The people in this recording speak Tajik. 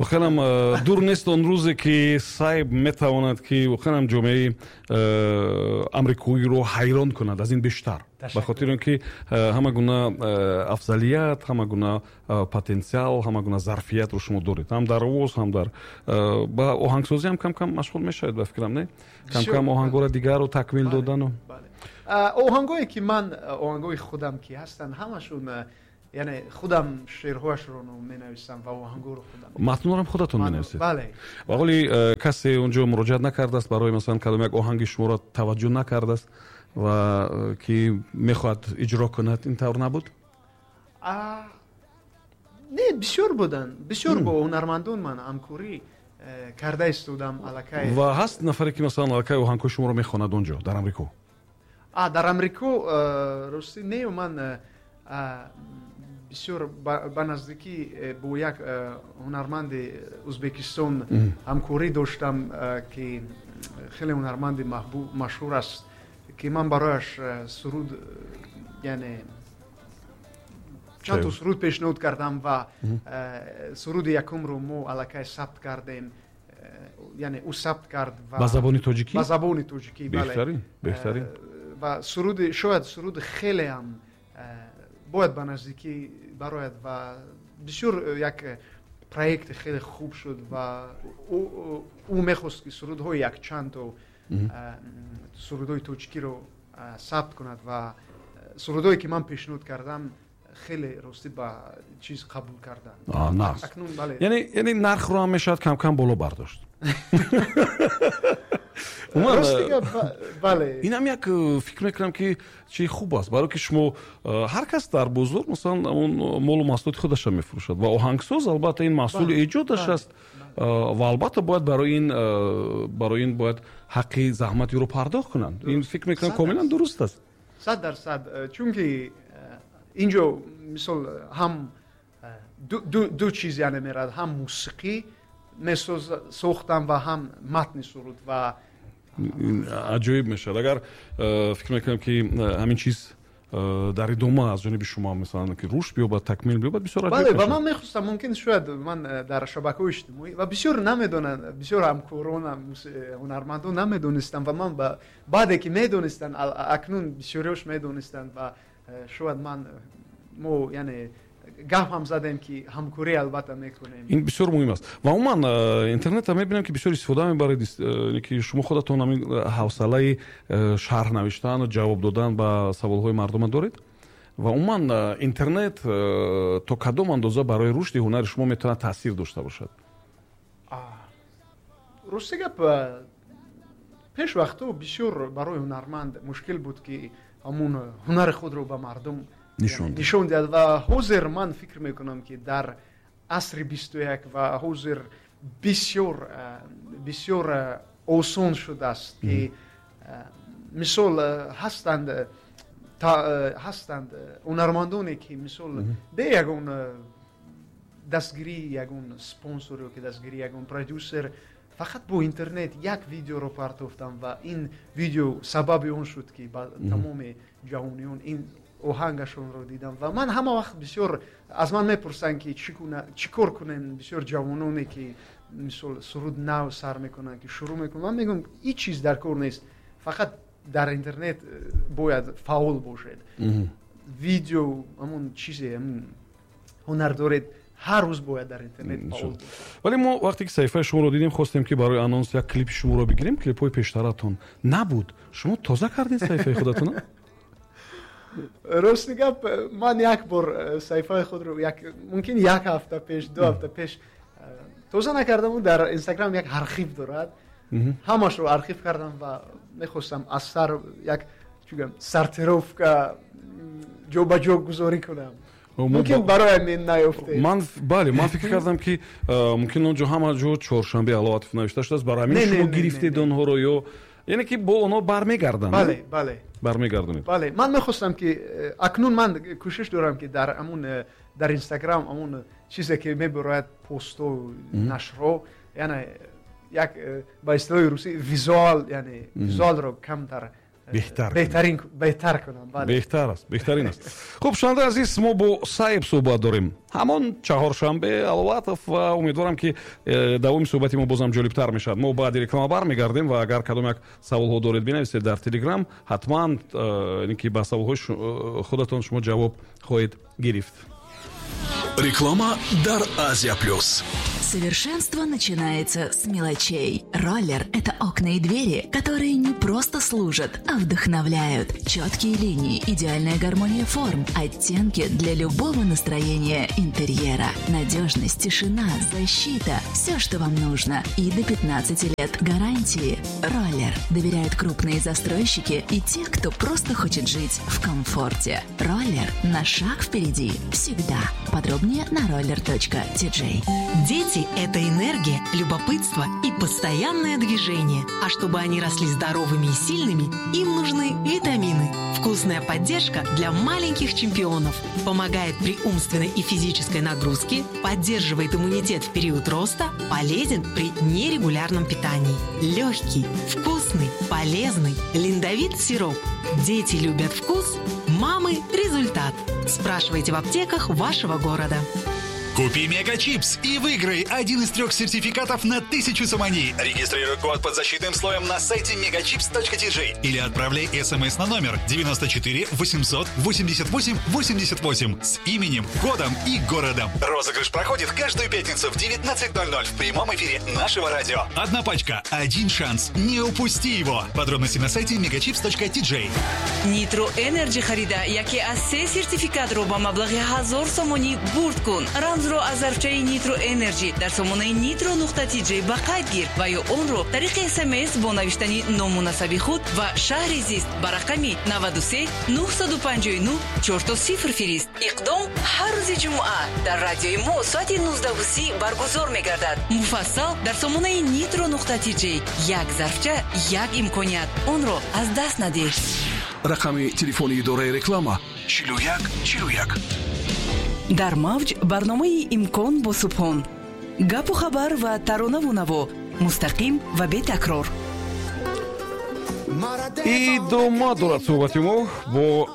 Воқеан дур нест он рӯзе, ки Сайб метавонад, ки воқеан ҷомеаи амрикоиро ҳайрон кунад аз ин бештар, ба хотири он ки ҳама гуна афзалият, ҳама гуна потенсиал, ҳама гуна зарфиятро шумо доред, ҳам дар овоз, ҳам дар ба оҳангсозӣ ҳам кам кам машғул мешавед, ба фикрам, не? Кам кам оҳангҳоро дигарро такмил додану. Оҳангое ки ман, оҳангои худам ки ҳастанд, ҳамашон, яъне худам шеърҳояшро менависам ва оҳангҳоро худам. Матнҳоро худатон менависед? Бале. Ва ҳоли касе онҷо муроҷиат накардааст барои, масалан, кадом як оҳанги шуморо таваҷҷӯҳ накардааст ва ки мехоҳад иҷро кунад, ин тавр набуд? Не, бисёр буданд, бисёр бо ҳунармандон ман ҳамкорӣ карда истодам аллакай. Ва ҳаст нафаре, ки, масалан, аллакай оҳангҳои шуморо мехонад онҷо, дар Амрико? Дар Амрико, ростӣ, не. Ман бисёр ба наздикӣ бо як ҳунарманди Ӯзбекистон ҳамкорӣ доштам, ки хеле ҳунарманди маҳбуб, машҳур аст, ки ман барояш суруд, яъне чанд то суруд пешниҳод кардам ва суруди якумро мо аллакай сабт кардем, яъне ӯ сабт кард. Ба забони тоҷикӣ? Ба забони тоҷикӣ, бале. Беҳтарин, беҳтарин. Ва суруди, шояд суруди хеле ҳам бояд ба наздикӣ барояд ва бисёр як проекти хеле хуб шуд ва ӯ мехост, ки сурудҳои якчандто сурудҳои тоҷикиро сабт кунад ва сурудҳое ки ман пешниҳод кардам, хеле, ростӣ, ба чиз қабул карданд. Яъне нархро ҳам мешавад кам кам боло бардошт. Бале. Инам як фикр мекунам, ки чи хуб аст, барое ки шумо ҳар кас дар бозор, масалан, он молу маҳсулоти худашро мефурӯшад ва оҳангсоз, албатта, ин маҳсули эҷодаш аст ва албатта бояд барои ин бояд ҳаққи заҳмати ӯро пардохт кунанд. Ин, фикр мекунам, комилан дуруст аст. 100%, чунки инҷо, мисол, ҳам ду чиз, яъне, меравад: ҳам мусиқӣ сохтам ва ҳам матни суруд ва Аҷоиб мешавад, агар, фикр мекунам, ки ҳамин чиз дар идома аз ҷониби шумо, масалан, ки рушд биёбад, такмил биёбад, бисёр. Бале, ва ман мехостам, мумкин, шояд ман дар шабакаҳои иҷтимоӣ ва бисёр намедонанд, бисёр ҳамкоронам, ҳунармандон намедонистанд ва ман баъде ки медонистанд, акнун бисёриёш медонистанд ва шояд ман мо, яъне, гап ҳам задем, ки ҳамкорӣ албатта мекунем. Ин бисёр муҳим аст. Ва умуман интернетро мебинам, ки бисёр истифода мебаред, ки шумо худатон ҳамин ҳавсалаи шарҳ навиштану ҷавоб додан ба саволҳои мардума доред. Ва умуман интернет то кадом андоза барои рушди ҳунари шумо метавонад таъсир дошта бошад? Рости гап, пеш вақтҳо бисёр барои ҳунарманд мушкил буд, ки ҳамун ҳунари худро ба мардум нишон диҳад. Ва ҳозир ман фикр мекунам, ки дар асри 21 ва ҳозир бисёр бисёр осон шудааст, ки, мисол, ҳастанд ҳунармандоне, ки, мисол, бе ягон дастгирии ягон спонсор ё ки дастгирии ягон продюсер фақат бо интернет як видеоро партофтам ва ин видео сабаби он шуд, ки ба тамоми ҷаҳониён ин оҳангашонро дидам. Ва ман ҳама вақт, бисёр аз ман мепурсанд, ки чӣ кор кунем, бисёр ҷавононе, ки, мисол, суруд нав сар мекунанд, ки шурӯъ мекунанд, ман мегӯям, ҳеҷ чиз дар кор нест, фақат дар интернет бояд фаъол бошед, видео, ҳамон чизе ҳунар доред, ҳар рӯз бояд дар интернет фаъол. Вале мо вақте ки саҳифаи шуморо дидем, хостем, ки барои анонс як клипи шуморо бигирем, клипҳои пештаратон набуд. Шумо тоза кардед саҳифаи худатона? Рости гап, ман як бор саҳифаи худро мумкин як ҳафта пеш, 2 ҳафта пеш тоза накардам. Дар Инстаграм як архив дорад, ҳамашро архив кардам ва мехостам аз сар як чӣ сортировка, ҷобаҷо гузорӣ кунам. Мумкин барои ҳамин наёфтед. Ман, бале, ман фикр кардам, ки мумкин он ҷо ҳама ҷо Чоршанбе Аловатов навишта шудааст, барои ҳамин шумо гирифтед онҳоро ё яъне ки бо онҳо бармегарданд. Бале. Бармегардонед. Бале, ман мехостам, ки акнун ман кӯшиш дорам, ки дар ҳамун дар Инстаграм ҳамун чизе ки мебарояд, посту нашрҳо, яъне як ба истилоҳи русӣ визуал, яъне визуалро камтар. Беҳтар. Беҳтарин, беҳтар кунам, бале. Беҳтар аст, беҳтарин аст. Хуб, шунавандаи азиз, мо бо Саиб суҳбат дорем, ҳамон Чаҳоршанбе Аловатов, ва умедворам, ки давоми суҳбати мо бозам ҷолибтар мешавад. Мо баъди реклама бармегардем ва агар кадом як саволҳо доред, бинависед дар Телеграм, ҳатман ин ки ба саволҳои худатон шумо ҷавоб хоҳед гирифт. Реклама дар Азия Плюс. Совершенство начинается с мелочей. Роллер – это окна и двери, которые не просто служат, а вдохновляют. Четкие линии, идеальная гармония форм, оттенки для любого настроения интерьера. Надежность, тишина, защита – все, что вам нужно. И до 15 лет гарантии. Роллер. Доверяют крупные застройщики и те, кто просто хочет жить в комфорте. Роллер на шаг впереди. Всегда. Подробнее на roller.tj. Дети – это энергия, любопытство и постоянное движение. А чтобы они росли здоровыми и сильными, им нужны витамины. Вкусная поддержка для маленьких чемпионов. Помогает при умственной и физической нагрузке, поддерживает иммунитет в период роста, полезен при нерегулярном питании. Легкий, вкусный, полезный. Линдовит сироп. Дети любят вкус, мамы – результат. Спрашивайте в аптеках вашего города. Купи Мегачипс и выиграй один из трех сертификатов на 1000 сомони. Регистрируй код под защитным слоем на сайте megachips.tj или отправляй смс на номер 94 888 88 с именем, годом и городом. Розыгрыш проходит каждую пятницу в 19:00 в прямом эфире нашего радио. Одна пачка, один шанс. Не упусти его. Подробности на сайте megachips.tj. Нитро Энерджи харида, яке аз се сертификатро ба маблағи 1000 сомонӣ бурд кун. Рамзро аз зарфчаи Нитро Энерджи дар сомонаи nitro.tj ба қайд гир ва ё онро тариқи СМС бо навиштани ному насаби худ ва шаҳри зист ба рақами 93 959 000 фирист. Иқдом ҳар рӯзи ҷумъа дар радиои мо соати 19:30 баргузор мегардад. Муфассал дар сомонаи nitro.tj. Як зарфча, як имконият, онро аз даст надиҳ. Рақами телефони идораи реклама: 41 41. Дар мавҷ барномаи «Имкон» бо Субҳон. Гапу хабар ва таронаву наво мустақим ва бетакрор. Идома дорад суҳбати мо бо